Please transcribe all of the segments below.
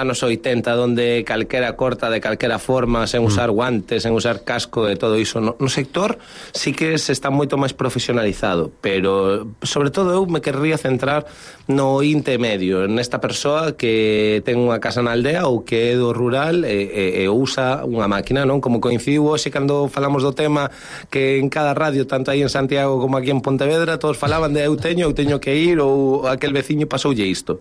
anos 80 donde calquera corta de calquera forma, sen usar guantes, sen usar casco e todo iso. No sector sí que se está moito máis profesionalizado, pero sobre todo eu me querría centrar no intermedio, nesta persoa que ten unha casa na aldea ou que é do rural e usa unha máquina, non? Como coincidiu hoxe cando falamos do tema que en cada radio, tanto aí en Santiago como aquí en Pontevedra, todos falaban de eu teño que ir ou aquel veciño pasoulle isto.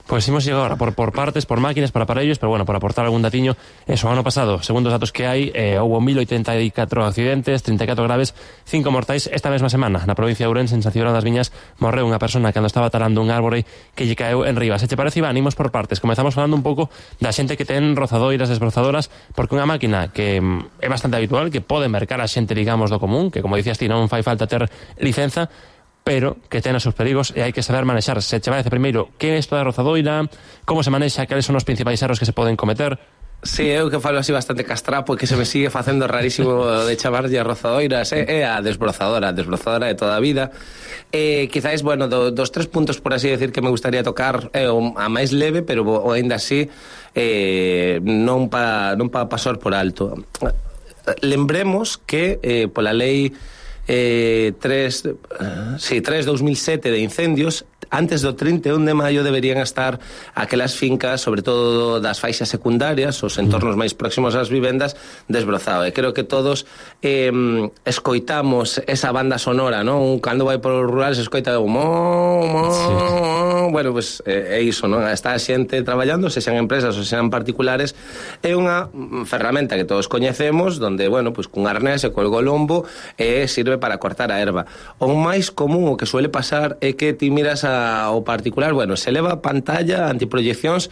Pois imos llegar agora por partes, por máquinas, por aparellos, pero bueno, por aportar algún datiño, eso, ano pasado, segundo os datos que hai, houve 1084 accidentes, 34 graves, 5 mortais. Esta mesma semana, na provincia de Ourense, en San Cibrao das Viñas, morreu unha persona cando estaba talando un árbore que lle caeu en riba. Se che parece, Iván, imos por partes. Comezamos falando un pouco da xente que ten rozadoiras, desbrozadoras, porque unha máquina que é bastante habitual, que pode mercar a xente, digamos, do común, que como dicías ti, non fai falta ter licenza, pero que ten os seus perigos e hai que saber manexar. Se che parece primeiro, que é isto da rozadoira, como se manexa, cales son os principais erros que se poden cometer? Sí, eu que falo así bastante castrapo, que se me sigue facendo rarísimo de chamarlle a rozadoiras, é a desbrozadora de toda a vida. Quizás, bueno, dos tres puntos, por así decir, que me gustaría tocar, a máis leve, pero ainda así non pa pasar por alto. Lembremos que pola lei 3/2007 de incendios, antes do 31 de maio deberían estar aquelas fincas, sobre todo das faixas secundarias, os entornos máis próximos ás vivendas, desbrozado. E creo que todos escoitamos esa banda sonora, non? Cando vai por os rurales se escoita o bueno, pues é iso, non? Está a xente traballando, se xan empresas ou se xan particulares, é unha ferramenta que todos coñecemos, donde, bueno, pues cun arnés e colgo o lombo sirve para cortar a erva. O máis común, o que suele pasar, é que ti miras ao particular, bueno, se leva pantalla, antiproyeccións,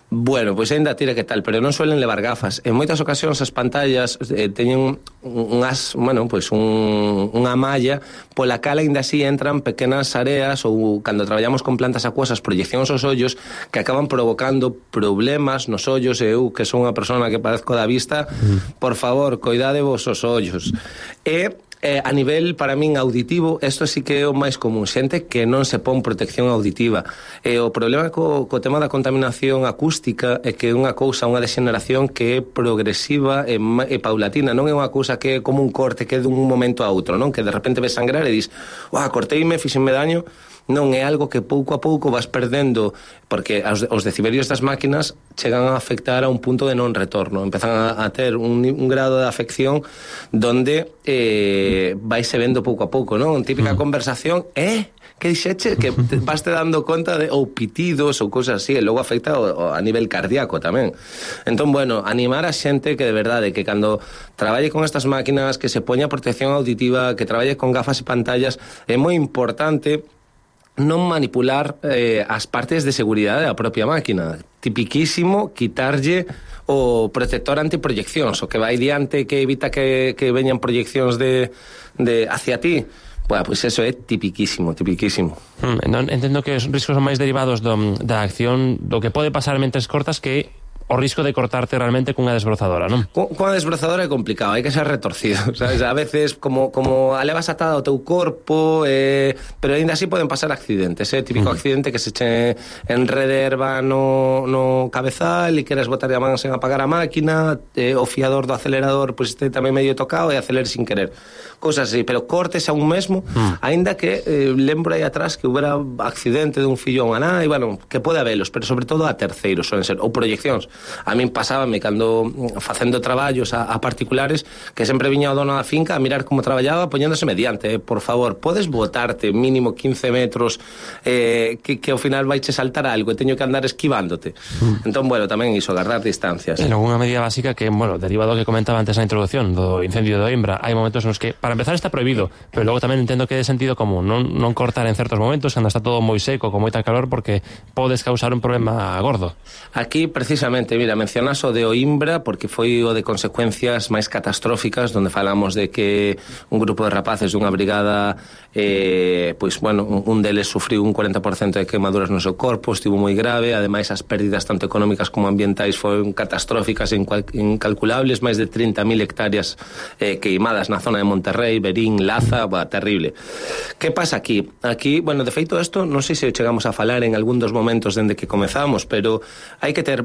bueno, pois ainda tira que tal, pero non suelen levar gafas. En moitas ocasións as pantallas teñen unha malla pola cal ainda así entran pequenas areas ou cando traballamos con plantas acuosas, proyeccións aos ollos que acaban provocando problemas nos ollos. E eu, que son unha persona que padezco da vista, por favor, coidade vos os ollos. A nivel, para min, auditivo, isto sí que é o máis común, xente que non se pon protección auditiva. O problema co tema da contaminación acústica é que é unha cousa, unha degeneración que é progresiva e paulatina, non é unha cousa que é como un corte que é dun momento a outro, non? Que de repente ves sangrar e dis, corteime, fixenme daño. Non, é algo que pouco a pouco vas perdendo, porque os decibelios das máquinas chegan a afectar a un punto de non retorno, empezan a ter un grado de afección donde vaise vendo pouco a pouco, non? Típica conversación, que dixeche, que vas te dando conta de ou pitidos ou cousas así, e logo afecta a nivel cardíaco tamén. Entón, bueno, animar a xente que de verdade, que cando traballe con estas máquinas, que se poña protección auditiva, que traballe con gafas e pantallas, é moi importante non manipular as partes de seguridade da propia máquina. Tipiquísimo quitarlle o protector antiproyeccións, o que vai diante, que evita que veñan proyeccións de hacia ti. Bueno, pois eso é tipiquísimo. Entendo que os riscos son máis derivados da acción, do que pode pasar mentres cortas, que o risco de cortarte realmente cunha desbrozadora, non? Cunha desbrozadora é complicado, hai que ser retorcido, sabes? A veces, como a levas atada ao teu corpo, pero ainda así poden pasar accidentes, típico accidente que se che enrede erva no cabezal e queres botar a man sen apagar a máquina, o fiador do acelerador pois este tamén medio tocado e acelerar sin querer. Cosas así, pero cortes a un mesmo, aínda que lembro aí atrás que houbera accidente de un fillo a unha nai, bueno, que pode habelos, pero sobre todo a terceiros, suelen ser, ou proyeccións. A min pasábame cando facendo traballos a particulares, que sempre viña o dono da finca a mirar como traballaba, poñéndose mediante, por favor, podes botarte mínimo 15 metros, que ao final vaiche saltar algo e teño que andar esquivándote. Entón, bueno, tamén iso, agarrar distancias. En algunha medida básica que, bueno, derivado do que comentaba antes na introducción do incendio de Oimbra, hai momentos nos que, para empezar, está prohibido, pero logo tamén entendo que é de sentido común, non cortar en certos momentos cando está todo moi seco, con moita calor, porque podes causar un problema gordo. Aquí, precisamente, Efectivamente, mira, mencionas o de Oimbra porque foi o de consecuencias máis catastróficas, donde falamos de que un grupo de rapaces dunha brigada, pois, bueno, un deles sufriu un 40% de quemaduras no seu corpo, estivo moi grave, ademais as pérdidas tanto económicas como ambientais foron catastróficas e incalculables, máis de 30.000 hectáreas queimadas na zona de Monterrey, Berín, Laza, terrible. Que pasa aquí? Aquí, bueno, de feito isto, non sei se chegamos a falar en algún dos momentos dende que comezamos, pero hai que ter